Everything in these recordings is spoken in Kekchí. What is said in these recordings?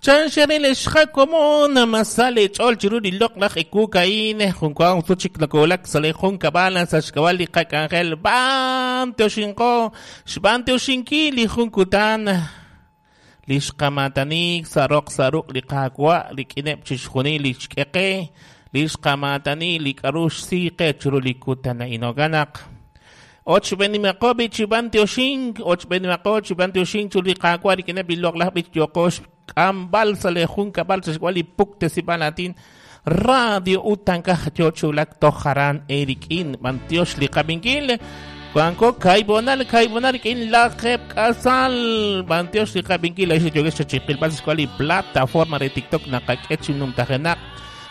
Chanxeril xqakomon masa leech'ool chiru li loq'laj ewu a'in. Junkuan sut chik nakowulak sa' li junkab'al sa' xk'ab'a' li qak'anjel. B'antioxinqo xb'antioxinkil li jun kutan li xqamatanik sa' roq sa' ruq' li Qaawa' rik'ineb' chixjunil li xk'e qe, li xqamatani li k'aru xsi qe chiru li kutan a'in. Jo'kan naq ochb'enimaqo b'i chi b'antioxink, ochb'enimaqo chi b'antioxink chiru li Qaawa' rik'ineb' li loq'laj b'ich yooqo xk'amb'al sa' li junkab'al sa' xk'ab'a' li puktesib'al aatin Radio Utankaj yo chi wulak toj aran eerik'in. B'antiox li qab'inkil. Wanko kaibonal kaibonal rik'in lajeeb' k'asal. B'antiox li qab'inkil. Laa'ex li yookex chiqilb'al sa' xk'ab'a' li plataforma re TikTok naqak'e chi numtajenaq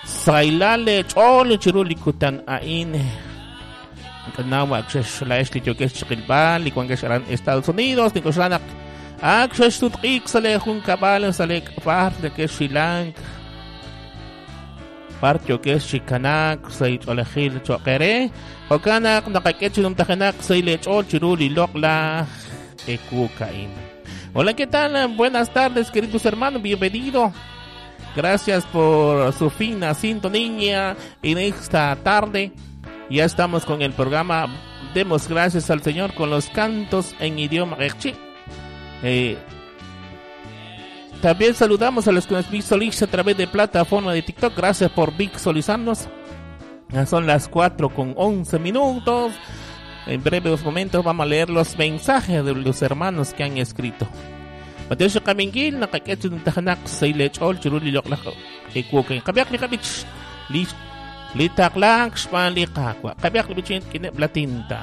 sahilal leech'ool chiru li kutan a'in. Naw ak xex laa'ex li yookex chiqilb'al li wankex aran Estados Unidos. Nink'oxla naq ak xexsutq'iik sa' lee junkab'al sa' lee b'ar nekexxilank b'ar yookex chi kanaak sa' ch'oolejil cho'q eere. Jo'kan naq naqak'e chi numtajenaq sa' leech'ool chiru li loq'laj ewu a'in. Hola, ¿qué tal? Buenas tardes, queridos hermanos, bienvenido. Gracias por su fina sintonía en esta tarde. Ya estamos con el programa Demos gracias al Señor con los cantos en idioma q'eqchi'. También saludamos a los que nos visualizan a través de plataforma de TikTok. Gracias por visualizarnos. Ya son las 4:11. En breves momentos vamos a leer los mensajes de los hermanos que han escrito. Mateo qab'inkil naqak'e chi numtajenaq sa' leech'ool chiru li loq'laj ewu a'in. Qab'ihaq li qab'ich li li taqlaak xb'aan li Qaawa'. Qab'ihaq li b'ich rik'ineb' la tinta.